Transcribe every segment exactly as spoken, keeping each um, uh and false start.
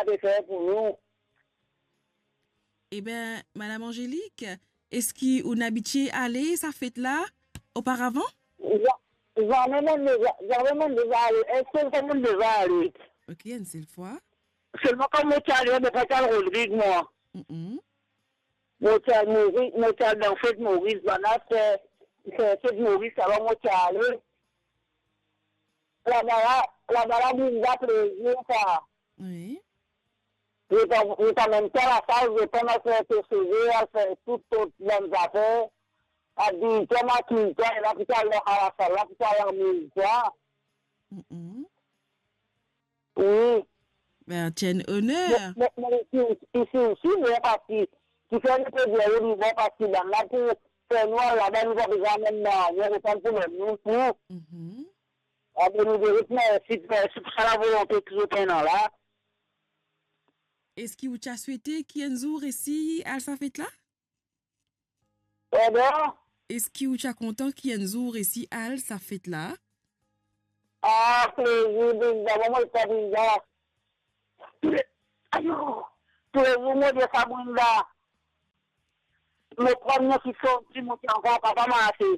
pe fer pou nou. Eben, Madam Angélique, eski ou inn abitie ale sa fet la oparavan? Za-, zame mo'nn deza, zame mo'nn deza ale. Enn sel fwa mo'nn deza ale. Ok, enn sel fwa. Selman kan mo ti ale, mo pa ti al Rodrig, mwa. Mm-mm. Mo ti al Mori-, mo ti al dan fet Moris, bann la fer, fer fet Moris, alor mo ti ale. Laba la, laba la, Brinda, plezir sa. Wi. Zot pa, zot pa mem fer lasal, zot pa mem fer to seve, al fer tou, tou bann zafer. Abiy twa, makiy twa, e la pou to al dan lasal la, pou to al anmez twa. Mm-mm. Wi. Ben, ti enn oner. Me, me, me isi, isi osi, bon, parski, kifer nou pe dir li bon, parski bann la pou fer nou al laba, nou pa bizin mem nanye, nou pa pou mem nou tou. Mhm. Abe nou dir zot mersi, mersi pou sa lavolonte ki zot ena la. Eski ou ti a swete ki enn zour resi al sa fet la? Pardon? Eski ou ti a kontan ki enn zour resi al sa fet la? Ah, plezir, Brinda, mo pa Brinda. Ayo, plezir, mo dir sa, Brinda. Mo pran mo ki sorti, mo ti ankor pa, pa marse.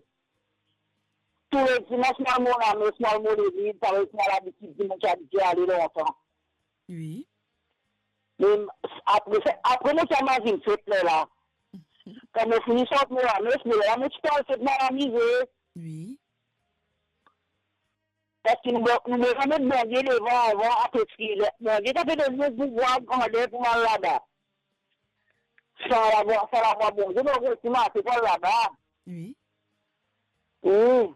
Tou le dimans, mo al mo lames, mo al mo legliz, parski mo labitid, mo ti abitie ale lontan. Wi. Me apre sa, apre mo ti al mazin fet ler la. Kan mo fini sort mo lames, me ler la mo ti pe al fet mo al amize. Wi. Parski nou, nou bizin met Bondie devan, avan, apre ki, Bondie ta pe donn nou pouvwar, grander pou al laba. San lavwa, san lavwa Bondie, nou resi marse pou al laba. Wi. Wi.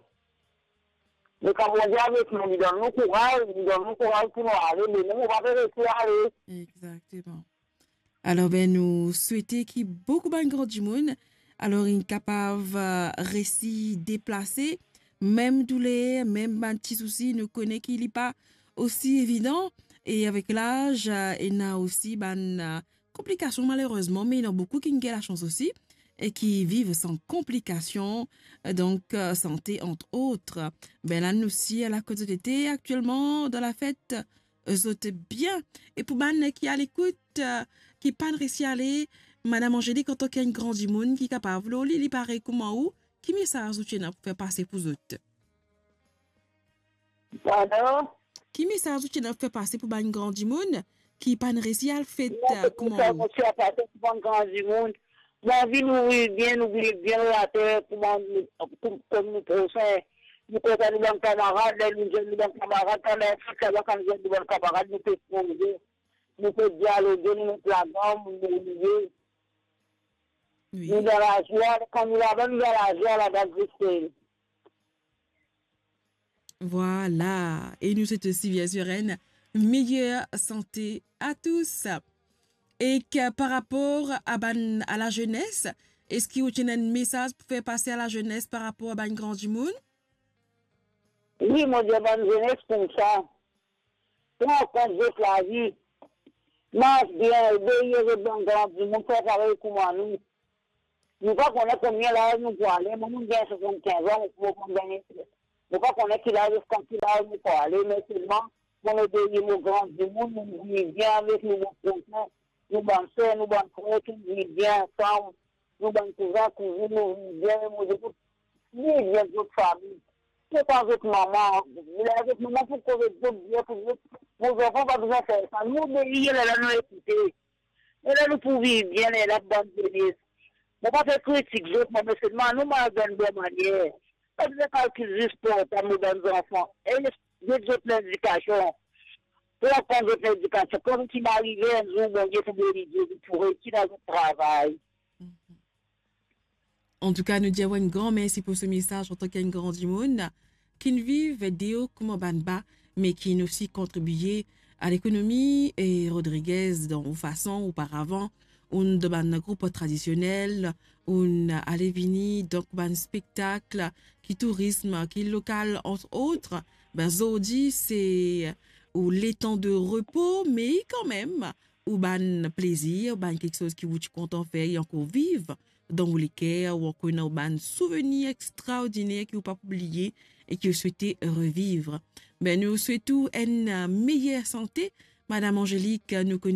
Me kan Bondie avek nou, li donn nou kouraz, li donn nou kouraz pou nou ale, me nou, nou pa pe resi ale. Exactement. Alor, ben, nou swete ki boukou bann gran dimoun, alor, inn kapav, eh, resi deplase, mem douler, mem bann ti sousi, nou kone ki li pa osi evidan, e avek laz, eh, ena osi bann, eh, konplikasion, malerezman, me ena boukou ki gagn lasans osi, e ki viv san konplikasion, eh, donk, eh, sante, ant ot. Ben, la, nou si, ala kot zot ete aktielman dan lafet, zot bien. E pou bann ki alekout, eh, ki pa'nn resi ale, Madam Angélique, antan ki enn gran dimoun ki kapav, lor li, li parey kouma ou, ki mesaz ou ti ena pou fer pase pou zot? Pardon? Ki mesaz ou ti ena pou fer pase pou bann gran dimoun ki pa'nn resi al fet, eh, kouma ou? Mo ti ena pou fer pase pou bann gran dimoun, nou anvi nou viv bien, nou viv bien lor later, kouma nou, kom, kom nou prosin. Nou kontan nou bann kamarad, ler nou zwenn nou bann kamarad, kan nou fek laba, kan nou zwenn nou bann kamarad, nou pe koze, nou pe dialoge, nou met laganm, nou riye. Wi. Nou dan lazwa, kan nou laba, nou dan lazwa, laba zis. Vwala. E nou swet osi, bien sir, enn meyer sante a tous. E ki, par rapor a bann, a lazenes, eski ou ti ena enn mesaz pou fer pase a lazenes par rapor a bann gran dimoun? Wi, mo dir bann zenes koumsa, pran kont zot lavi, mars bien, obeye zot bann gran dimoun, fer parey kouma nou. Nou pa kone konbien laz nou pou ale. Mo, mo gagn swasannkinz an, mo, mo, mo gagn, mo pa kone ki laz, ziska ki laz mo pou ale, me selman mo obeye mo gran dimoun, nou viv bien avek nou, mo prosin, nou bann ser, nou bann frer, tou viv bien ansam, nou bann kouzin, kouzinn, nou viv bien, mo dir zot, viv bien zot fami. Se pa zot mama, ler zot mama pou koz zot bien, pou zot, mo zanfan pa bizin fer sa. Nou obeye, lerla nou ekoute. Lerla nou pou viv bien, lerla bann zenes. Mo pa pe kritik zot, mo, me selman nou mal dan bon manier. Pa bizin kalkil zis portab mo bann zanfan. E get zot lendikasion. Pran kont zot lendikasion. Kan zot finn arive, enn zour Bondie pou beni zot, zot pou reysi dan zot travay. Mhm. Antouka, nou dir ou enn gran mersi pou se mesaz antan ki enn gran dimoun ki'nn viv deor kouma bann ba, me ki'nn osi kontribie a lekonomi, e Rodriguez, dan ou fason, oparavan, ou'nn dan bann group tradisionel, ou'nn ale vini, donk bann spektak, ki tourism, ki lokal, ant ot. Ben, zordi, se ou letan de repo, me kanmem, ou bann plezir, ou bann kiksoz ki ou ti kontan fer e ankor viv dan ou leker, ou ankor ena ou bann souvenir extraordiner ki ou pa pou bliye e ki ou swete reviv. Ben, nou swet ou enn, eh, meyer sante, Madam Angélique, nou kone